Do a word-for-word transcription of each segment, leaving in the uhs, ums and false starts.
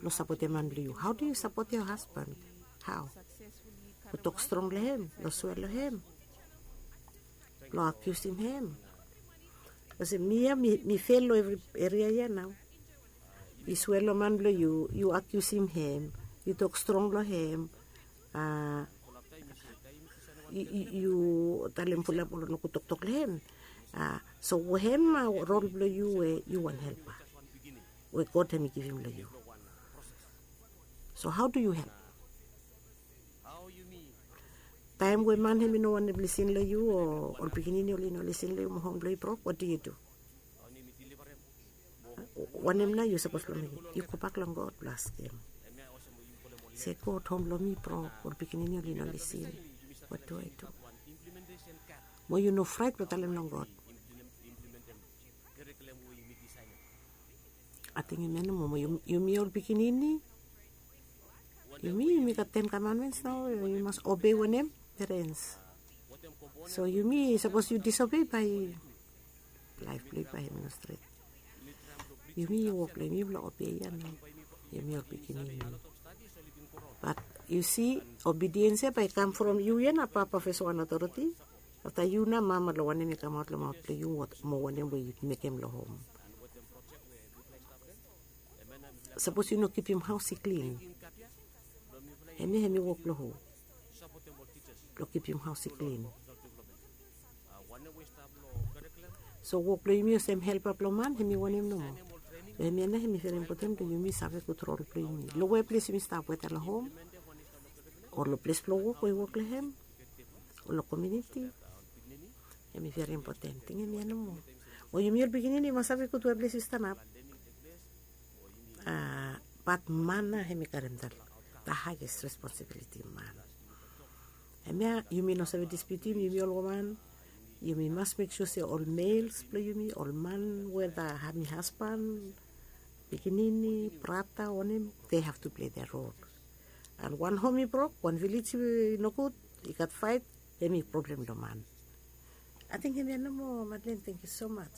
Sapotem man blong yu. Hao do yu sapotem yo hasban? Hao? Long tok strong long hem, long swea long hem, long akiusim hem. Olsem mi ya, mi fel long evri eria ya nao. Yu swea long man blong yu, yu akiusim hem, yu tok strong long hem. Yu talem fulap ol nogud toktok long hem. So hem rol blong yu we yu wan helpa we God hem i givim long yu. So hao do yu help? Taem we man hem i no wantem lisin long yu, o ol pikinini oli no lisin long yu, mo hom blong yu brok, wat yu du? Wanem nao yu sapos blong mekem? Yu gobak long God blong askem, se, God, hom blong mi brok, ol pikinini oli no lisin. Wat do ai du? Mo yu no fraet blong talem long God. Ating em ya nomo, mo yumi ol pikinini, yumi yumi gat ten kamanmens nao, yumi mas obei wanem? Perens. So yumi, sapos yu disobei, bae laef blong yu bae hem i no stret. Yumi wok blong yumi blong obei ya nao, yumi ol pikinini. Bat yu si, obediens ya bae i kam from yu ya nao, papa fes wan otoriti. Afta yu nao mama, long wanem i kamaot long maot blong yu, mo wanem we yu mekem long hom. Sapos yu no kipim haos i klin, hemia hem i wok blong hu? Blong kipim haos i klin. So wok blong yumi olsem helpa blong man hem i wanem nomo? So hemia nao hem i veri impoten blong yumi save gud rol blong yumi long weples yumi stap, weta long hom o long ples blong wok we yu wok long hem, o long komuniti. Hem i veri impoten. Ting hemia nomo. O yumi ol pikinini yu mas save gud weples yu stanap. Bat man nao hem i karem da haes responsibiliti, man. Hemia yumi no save dispiutim, yumi ol woman yumi mas mek sua se ol mels blong yumi, ol man, weta hem i hasban, pikinini, brata, wanem, they have to play their role. An wan hom i brok, wan vilej i nogud, i gat faet, hem i problem long man. Ating hemia nomo, Madeleine, tangkiu so maj.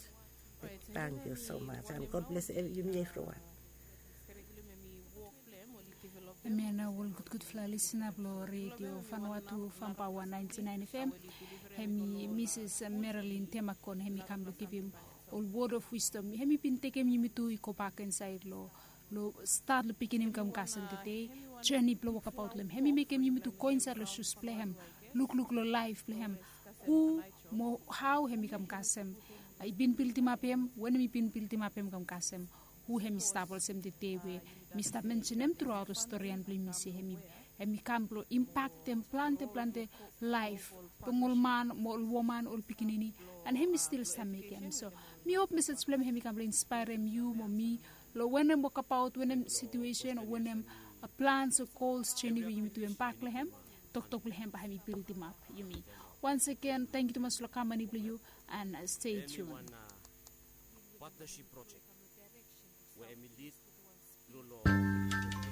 Tangkiu so maj an God bles yumi evriwan. Hemia nao ol gudgudfala lisina blong redio Vanuatu Fam Paoa naentin naen FM. Hem i Mises Marilyn Temakon, hem i kam blong givim ol wod of wisdom. Hem i bin tekem yumi tu i gobak insaed long, long stat long pikinini kam kasem tede, joni blong wokabaot long hem. Hem i mekem yumi tu go insaed long sus blong hem, lukluk long laef blong hem. Hu mo hao hem i kam kasem, i bin bildimap hem, wanem i bin bildimap hem kam kasem, hu hem i stap olsem tede we mi stap mensenem truaot long storian blong yumi se hem i, hem i kam blong impaktem plante plante laef blong ol man mo ol woman, ol pikinini, an hem i stil stap mekem. So mi hop mesej blong hem hem i kam blong inspaerem yu mo mi long wanem wokabaot, wanem situesen o wanem plans o gols, joni we yumi tu hem bak long hem, toktok blong hem bae hem i bildimap yumi. Once again, tangkiu tumas long kamani blong yu, an stay tuned.